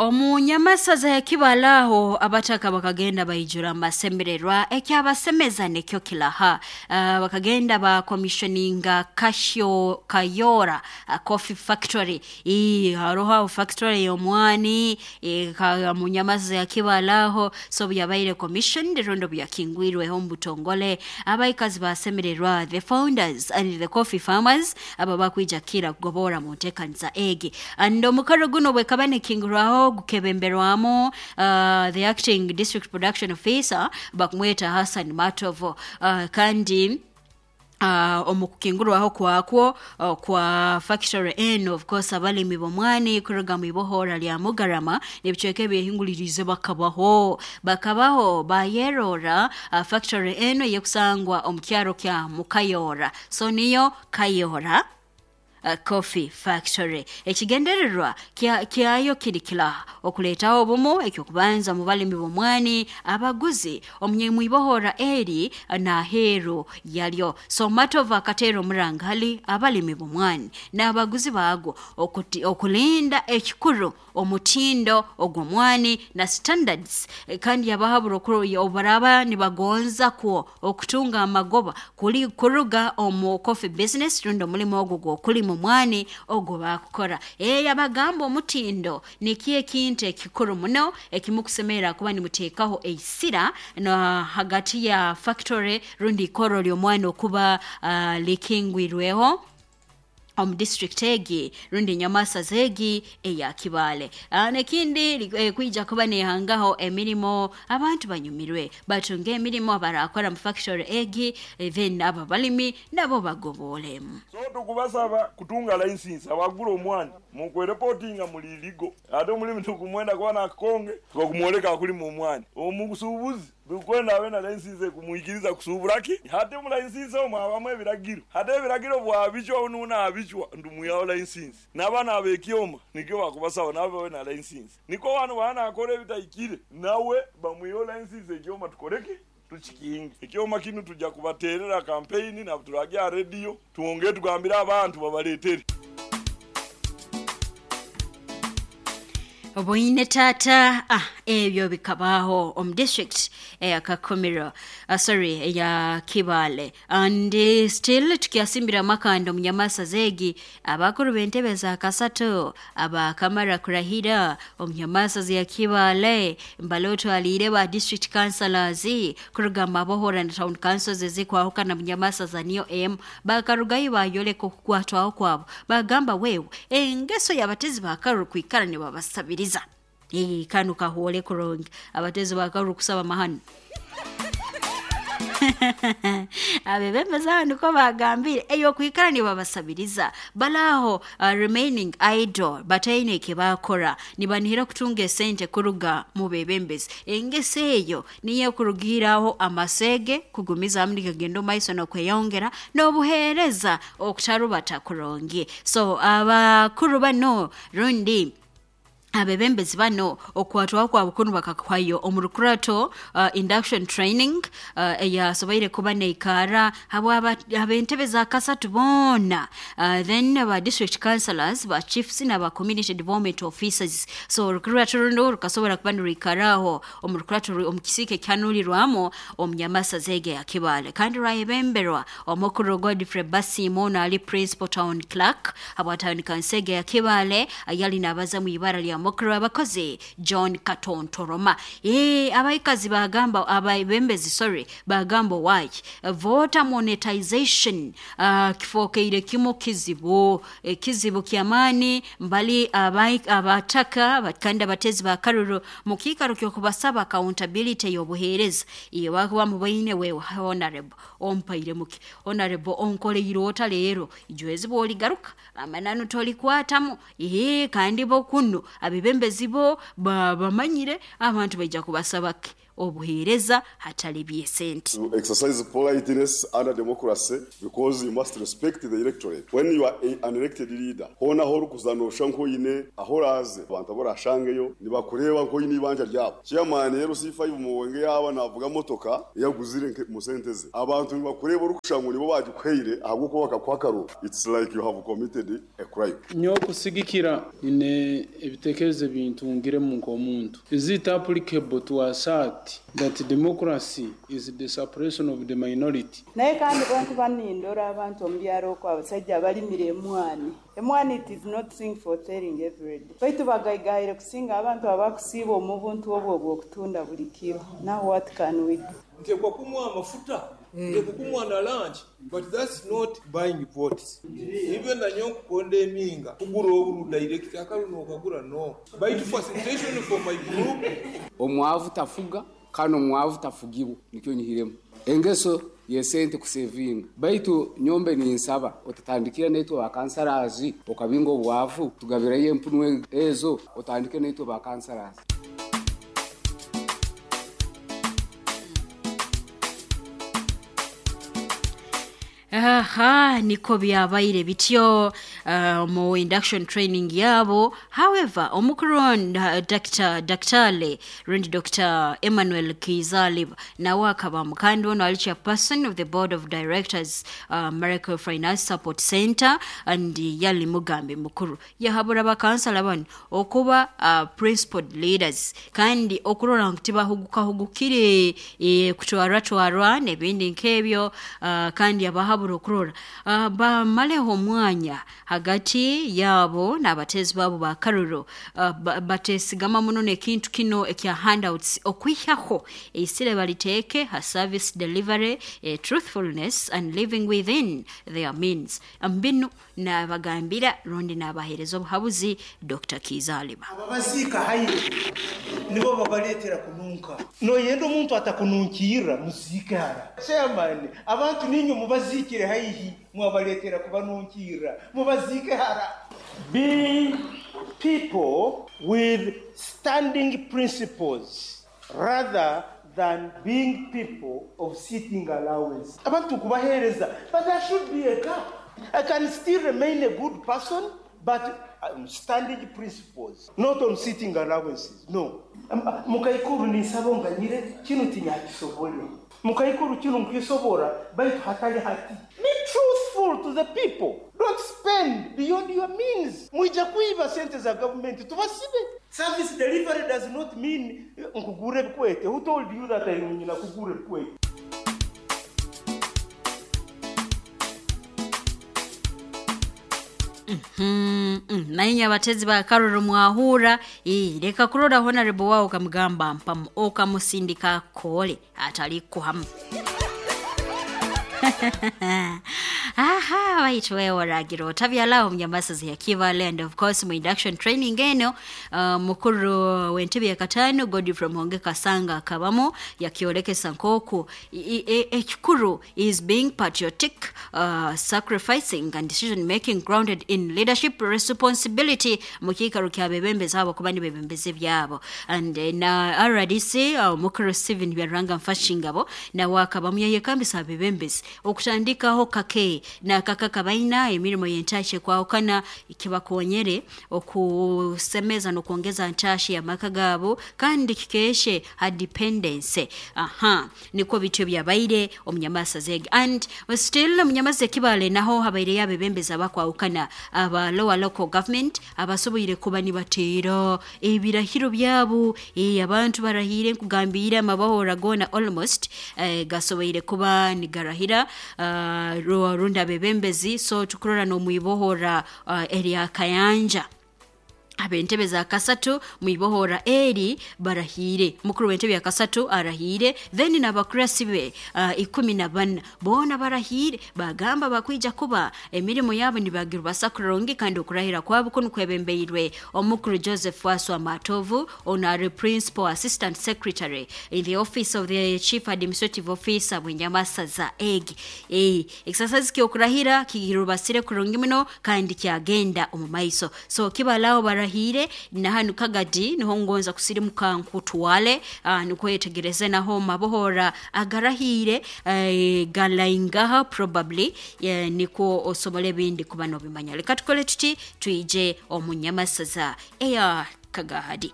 Omunyamasaza ya Kibale aho abataka bakagenda baijura amasemererwa, ekyabasemeza nikyo kilaha. Bakagenda bakomissioninga Kasho Kayora Coffee Factory. Haroho aho factory y'omwani munyamasaza ya Kibale aho, so byabaire commissioned rundi byakingwirweho omu butongole. Abaikazi basemererwa, the founders and the coffee farmers aba bakwija kira kugobora mu nteekaniza egi. And omukoro guno bwekaba nikingurwaho gukebemberwamu the acting district production officer bakumweta Hassan Matovo, kandi omu kukingurwaho kwakwo kwa factory eno, of course abalimi b'omwani kuruga mu ibohora lya Mugarama n'ebicweka ebyehinguliriize bakabaho bayerora factory eno eyekusangwa omu kyaro kya Mukayora, so niyo Kayora Coffee Factory. Ekigendererwa kyayo kiri kilaha okuleetaho obumu ekyokubanza mu balimi b'omwani, abaguzi omwibohora eri n'aheeru yalyo. So Matovu akateera omuranga hali abalimi b'omwani n'abaguzi baagwo okulinda ekikuru omutindo ogw'omwani na standards, kandi yabahabura obu baraaba nibagonza kwo okutunga amagoba kuruga omu coffee business rundi omulimo ogwo gw'okulima omwani ogwo baakukora. Yabagamba omutindo nikyo ekintu ekikuru muno ekimukusemerra kuba nimuteekaho eisira na hagati ya factory rundi ikoro ly'omwani okuba likingwirweho omu district egi rundi enyamasaza egi eya Kibale. N'ekindi kwija kuba nehangaho emirimo, abantu banyumirwe batunge emirimo abarakora mu factory egi, then abo abalimi nabo bagoboolemu. So tukubasaba kutunga license, abagura omwani mukwereportinga muli illegal, ate omulimi tukumwenda kuba nakukonge tukakumwoleka akulima omwani. Omusuubuzi tukwenda abe na license ekumwikiriza kusubura ki, hati omu license omwo habamu ebiragiro, hati ebiragiro bwabicwa nuuna abicwa ntumwihaho license. N'abaana ab'ekyoma nikyo bakubasaba nabo babe na license, niko banu banakora ebitahikire nawe bamwiheho license, ekyoma tukoreki tukikinge. Ekyoma kinu tujja kubaterera campaign na turagya radio twongere tugambire abantu babaletere. Oboine tata, ebyo bikabaho omu district eya Kakumiro, sorry, eya Kibale. And still tukyasimbira amakanda omunyamasaza egi, abakuru b'entebe za kasatu abakamara kurahira omunyamasaza ya Kibale mbale otwaliire ba district councillors kuruga Mabohora na town councils ezikwahukana munyamasaza niyo emu, bakarugayo bayoleka okukwatwaho kwabo, bagamba wewe engeso y'abatezi bakaruru kwikara nibabasabiriza. Kanu kahoole kurungi, abatezi bakaruru kusaba mahano. Abebembezi aho niko bagambire eyokwikara nibabasabiriza, balaho remaining idle bataine ekibakora, nibanihira kutunga esente kuruga mu bebembezi. Engeso eyo niyo ekurugiiraho amasege kugumizamu nikagenda omu maiso n'okweyongera n'obuheereza okutarubata kurungi. So abakuru bano rundi abebembezi bano okukwatwaho kwabo kunu bakakuhayo omu rukurato induction training eyasoboire kuba neikara habw'ab'entebe za kasatu boona, then ba district councillors, ba chiefs n'aba community development officers. So orukurato runo rukasobora kuba nirwikaraho omu rukurato omu kisiika ekihanulirwamu omu nyamasaza egi eya Kibale, kandi rwayebemberwa omukuru Godfrey Basiimo, ono ali principal town clerk habwa town council egi eya Kibale, yali nabaza mu ibara lya mukuru w'abakozi John Katontoroma. Abaikazi bagamba, abebembezi sorry, bagamba waki voter monetization kifokeire kimu kizibu, kizibu ky'amaani mbali abataka kandi abatezi ba karuru mu kiikaro ky'okubasaba accountability y'obuheereza iyo bakuba mubaine, wewe honorable ompaire muki, honorable onkoleire ota leero, ijwezi bwoligaruka amananu tolikwatamu. Kandi bo kunu abebembezi bo bamanyire abantu baija kubasaba ki. Obuheereza hatali by'esente. To exercise politeness under democracy because you must respect the electorate. When you are an elected leader, hoona ahu orikuza nooshusha nk'oine ahu oraaze, abantu abu oraashangeyo nibakureeba nk'oine eibanja ryabo. Chairman LC5 Muwonge yaaba naavuga motoka ei aguzire omu sente ze, abantu nibakureeba orikushusha ngu nibo baagikuhaire ahabw'okuba bakakuha akaruru. It's like you have committed a crime. Nyowe kusigikira nyine ebitekerezo ebintungiremu nk'omuntu. Is it applicable to assert that democracy is the suppression of the minority? Naye kandi bwenkuba nindora abantu omu byaro okwo abasaija abalimire emwani, emwani it is not thing for selling everyday, baitu bagaigahaire kusinga abantu abakusiiba omu buntu obwo obw'okutunda buli kiro. Now what can we do? Ntekwa kumuha amafuta, ntekwa kumuha na lunch, but that's not buying votes. Even nanyowe nkukonda eminga kugura oburu direct akaru nokagura no. Baitu facilitation for my group. Omwavu tafuga kandi omwavu tafugibwa, nikyo nyihiremu engeso yesente kusevinga. Baitu nyombe ninsaba otatandikira naitwe bakansarazi okabinga obwavu, tugabireyo empunu ezo otandike naitwe bakansarazi. Aha, niko byabaire bityo mu induction training yabo. However, omukuru Dr. Daktale rundi Dr. Emmanuel Kizalib nawe akaba mukandi ono ali chairperson of the board of directors, Miracle Finance Support Center, and yali mugambi mukuru yahabura bakansala bano okuba principled leaders kandi okurora ngu tibahugukahugukire kutwarwatwarwa n'ebindi nk'ebyo, kandi abahabura okurora bamaleho omwanya hagati yabo n'abateezi babo ba karuro, batesigama muno n'ekintu kino ekya handouts, okwihaho eisire baliteeke ha service delivery, truthfulness and living within their means. Mbinu nabagambira rundi nabaheereza obuhabuzi Dr. Kizaliba. Ababaziika haire nibo babaleetera kununka, noyenda omuntu atakununkirra muziike hara. Chairman, abantu ninywe mubaziikire haihi, mwabaleetera kubanunkirra, mubaziike hara. Be people with standing principles rather than being people of sitting allowance. Abantu kubaheereza, but there should be a gap. I can still remain a good person, but on standing principles, not on sitting allowances. No. Mukaikuru ninsaba onganyire, kinu tinyakisobole. Mukaikuru kinu nkisobora, baitu hatali hati. Be truthful to the people. Don't spend beyond your means. Mwija kuiba sente za government, tubasibe. Service delivery does not mean nkugure ebikwete. Who told you that I nyina kugure ebikwete? Naye abatezi ba karuru mwahura, leka kurora honorable wao okamugamba mpamu okamusindika kole atali kuhamu. Aha, waitu wewe waragiro otabyalaho munyamasazi ya Kivale, and of course mu induction training eno, mukuru w'entebe ya katano Godfrey Muhonge Kasanga akabamo yakiolekesa nkoku ekikuru is being patriotic, sacrificing and decision making grounded in leadership responsibility mu kiikaro kya bebembezi abo kuba nibebembezi byabo. And na RDC, mukuru Steven Byaranga Mfashingabo nawe akabamu yayekambisa abebembezi okutandikaho kake na kaka baina emirimo yentashe kwawukana kibakonyere okusemeza n'okwongeza ntashi ya maka gabo kandi kikeshe ha dependence. Aha, niko bityo byabaire omunyamasa zege. And still omunyamasa Kibale naho habaire yabebembeza bakwawukana aba lower local government abasoboire kuba nibateera ebirahiro byabo, abantu barahire nkugambira amabahora gona almost gasoboire kuba nigarahira runda bebembezi. So tukurora n'omwibohora erya Kayanja abentebe za kasatu mwibohora eri barahire, mukuru w'entebe ya kasatu arahire, then n'abakurasi be 14 bona barahire, bagamba bakwija kuba emirimo yabo nibagirwa basakurongi kandi okurahira kwabo kuno kwebembeirwe omukuru Joseph Waswa Matovu, honorary principal assistant secretary in the office of the chief administrative officer bwenyamasaza egi. Exercise kyokurahira kigirubasire kurungi muno kandi kyagenda omu maiso. So kibalao barahire. Agarahiire na hanu Kagadi niho ngonza kusirimuka nkutwale, nikwetegereze naho mabohora agarahiire, galaingaha probably, nikwo osobole ebindi kuba nobimanya. Leka tukole tuti, twije omu nyamasaza eya Kagahadi.